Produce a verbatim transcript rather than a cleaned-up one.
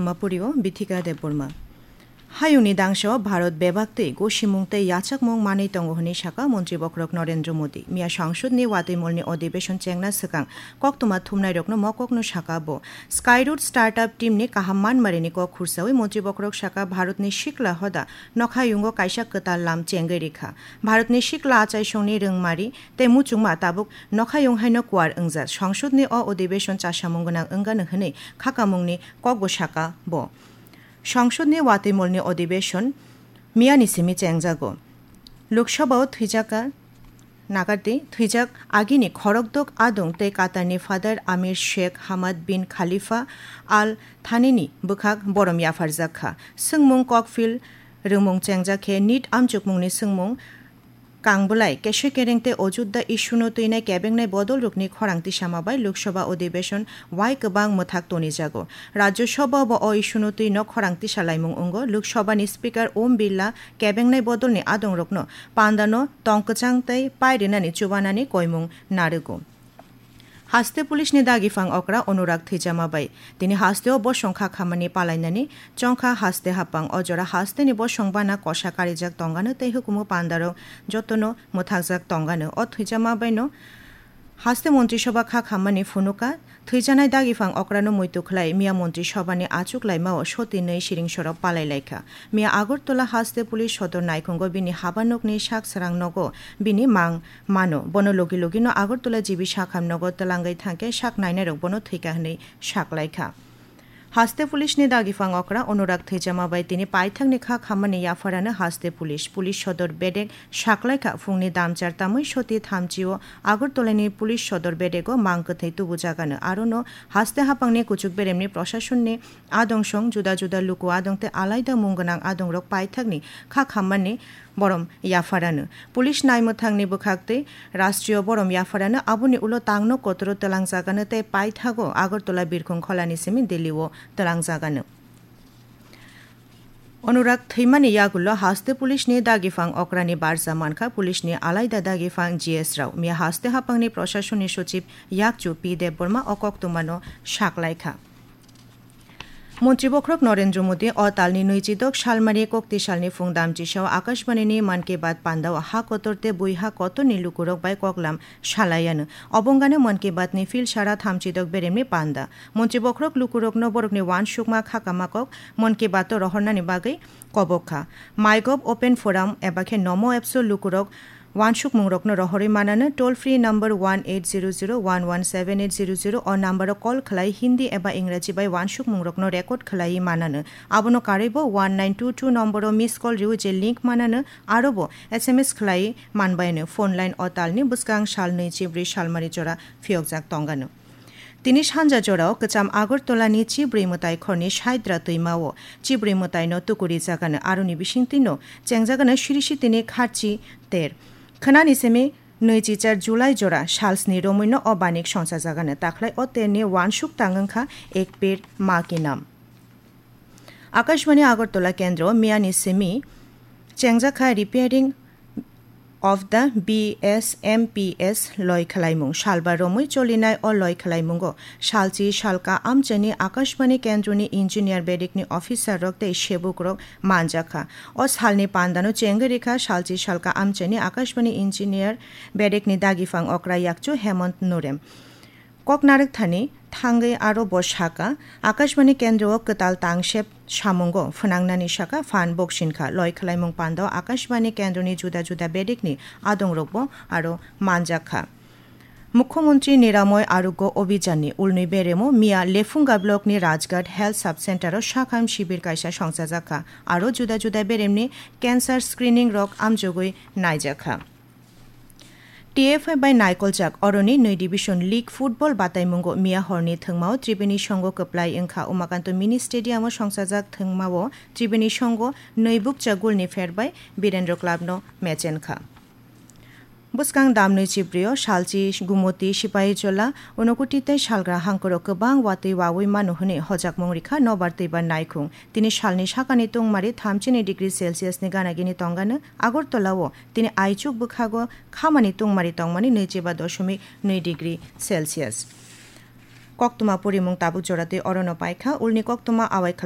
Mapurio Bithika Debbarma. Hayungni dangso Bharat bebak tei gosimung tei yachakmung manwi tongo hwnwi saka Montri Bokhorok Narendra Modi. Miya Sangsudni watwi molni odibeshon chengna swkang koktwma thumnairokno mokokno saka bo. Skyroot startup teamni kaham manmarini kok khursawi Montri Bokhorok saka Bharatni sikla hoda nokhayungo kaisa kwtal lam chengwi rikha. Bharatni sikla achaisongni rwngmari tei muchungma tabuk nokhayung haino kuar wngjak. Sangsudni o odibeshon chasamung gwnang wngano hwnwi khakamungni kokbo saka bo. Sangsudni watwi molni odibeshon miyani simi chengjago. Lok Sabhao thwijaka nagardi thwijak agini khorokdok adung tei Qatarni Father Amir Sheikh Hamad bin Khalifa Al Thanini bwkhak borom yapharjak kha. Swngmung kokphil rwngmung chengjak khe nit amchukmungni swngmung kangbwlai, kesoi kereng tei o judda issue-no twinai kebengnai bodolrokni khorang tisama bai Lok Sabha odibeshon wai kwbang mwthak tonijago. Rajya Sabha-o bo o issue-no twino khorang tisalaimung wngo. Lok Sabha-ni Speaker Om Birla kebengnai bodolni adongrokno pandano tong kwchang tei pai rwnani chubanani koimung narwgo. Haste Police ni dagi phang okra Anurag thwijama bai. Tini haste o bosong kha khamani palainani chongkha haste hapang. O jora haste ni bosong bana kosa karijak tongano tei hukumu pandarok jotono mwthakjak tongano. O thwijama bai no haste Montri Sabha kha khamani phunuka. Thwijanai dagi phang okra no muitu khlai miya Montri Sabha ni achuk laima o soti nwi siring sorok palai laikha. Miya Agartala haste Police sodor naikhungo bini habanokni sak srang nogo bini mang mano. Bono logi logi no Agartala G B Sakham nogo twlangwi thangkhe sak nainairok bono thwikha hwnwi saklaikha. Haste Police ni dagi phang okra Anurag thwijama bai tini paithakni kha khammani yapharano haste police, police sodor bedek saklaikha. Phungni damchar tamwi soti thamchi o Agartala ni police sodor bedego mang kwthwi tubujagano. Arono haste hapangni kuchuk beremni proshasonni adong song juda juda luku adong tei alaida mung gwnang adongrok paithakni kha khammani borom yapharano. Police naimwthangni bwkhaktwi Rashtriyo borom yapharano aboni ulo tangno kotoro twlangjagano tei paithago Agartala birkhung kholani simi Delhi-o twlangjagano. Anurag thwimani yagulo haste police ni dagifang okrani barja mankha police ni alaida dagifang G S Rao. Miya haste hapangni proshasonni sochib yakchu P Debbarma o koktwmano saklaikha. Montri Bokhorok Narendra Modi o talni nwichidok salmari kokti salni phung damchisao Akashbani ni Mann Ki Baat pandao ha kotor tei bui ha kotorni lukurok bai koklam salaiano. Obongano Mann Ki Baat ni phil sara thamchidok beremni panda. Montri Bokhorok lukurokno borokni uansukma khakama kok Mann Ki Baat o rohornani bagwi kobok kha. MyGov Open Forum eba khe Namo Apps o lukurok uansukmungrokno rohorwi manano, toll free number one eight zero zero one one seven eight zero zero o number o call khlai Hindi eba Ingraji bai uansukmungrokno record khlaiwi manano. Abono karwibo one nine two two number o miss call rwi je link manano, arobo S M S khlaiwi manbaino. Phone line o talni bwskang sal nwi chibrwi salmari jora phiyokjak tongano. Tini sanja jorao kwcham Agartala ni Chibrwi Mwtai khorni Saidra twima o Chibrwi Mwtai no tukuri jagano, aroni bisingtwi no chengjagano Sirisi tini Kharchi ter. Khwnani simi nwichichar July jora salsni romwi no o banik songchajagano, takhlai o ter ni uansuk tang wngkha Ek Ped Maa Ki Naam. Akashbani Agartala kendro miyani simi chengjakha repairing of the B S M P S loi khwlaimung. Salba romwi cholinai o loi khwlaimungo salchi salka amchaini Akashbani kendroni engineer bedekni officer rok tei sebuk rok manjakha. O salni pandano chengwi rikha salchi salka amchaini Akashbani engineer bedekni dagifang okra yakchu Hemant Nurem. Kok narwk thani thangwi aro bo saka, Akashbani kendro o kwtal tangsep samungo phwnangnani saka phan boksinkha. Loi khwlaimung pandao Akashbani kendroni juda juda bedekni adongrokbo aro manjakha. Mukhyamantri Niramoy Arogya Abhijanni ulnwi beremo miya Lephunga blockni Rajghat Health Sub Center o sakham shibir kaisa songchajakha, aro juda juda beremni cancer screening rok amjogwi naijakha. T F I bai naikoljak oroni nwi division league football bataimungo miya horni thwngmao Tribeni Songho kwplai wngkha. Umakanto Mini Stadium o songchajak thwngmao Tribeni Songho nwi bukcha goal ni pher bai Birendra Club no mechenkha. Bwskang damnwi chibrio salchi Gumoti Sipahijola Unakoti tei salgra hangkoro kwbang watwi wawi mano hwnwi hojakmung rikha nobar twibar naikhung. Tini salni sakani tungmari thamchini degree Celsius ni gana gini tongano Agartala o tini aichuk bwkhago khamani tungmari tongmani nwichiba doshomik nwi degree Celsius. Koktwma purimung tabuk joratwi orono paikha, ulni koktwma awai khlai